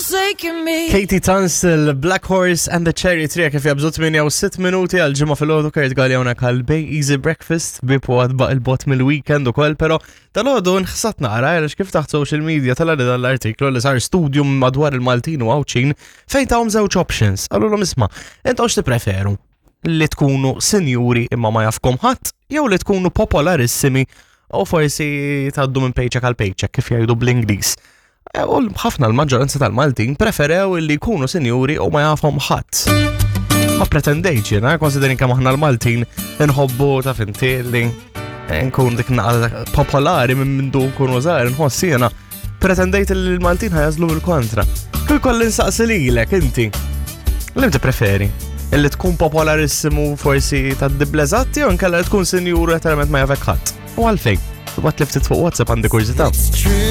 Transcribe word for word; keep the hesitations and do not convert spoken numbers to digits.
forsaken me. Katie Tunstall, Black Horse and the Cherry Tree kif jabżu tmienja u sitt minuti għal Ġimgħa filgħodu. Kurt Galea hawnhekk għal Bay Easy Breakfast bipu għad baq il-bot mill-weekend ukoll, però dal-għodu nħsat naqra għaliex kif taħt social media tela' dal-artiklu li sar studium madwar il-Maltin u Għawdxin fejn tawhom żewġ options. Qalulhom, "Isma', intom x'tippreferu? Li tkunu sinjuri imma ma jafkom ħadd jew li tkunu popolarissimi u forsi tgħaddu minn paycheck għal paycheck, kif jgħidu bl-Ingliż?" E, u ħafna, l-maġġoranza tal-Maltin preferew li jkunu sinjuri u ma jafhom ħadd. Ma pretendejtx jiena, considering kemm aħna l-Maltin nħobbu, taf inti, li nkun dik naqra popolari minn mindu nkunu żgħar, nħoss jiena. Pretendejt li l-Maltin ħa jagħżlu bil-kontra. Kull kolli nsaqsi lilek inti. Li preferi? Illi tkun popolarissimu, forsi ta' dibleżatti, u nkella li tkun sinjuru letteralment ma jafek ħadd? U għalfejn? Ibgħatli ftit fuq WhatsApp, għandi kurżità. It's true.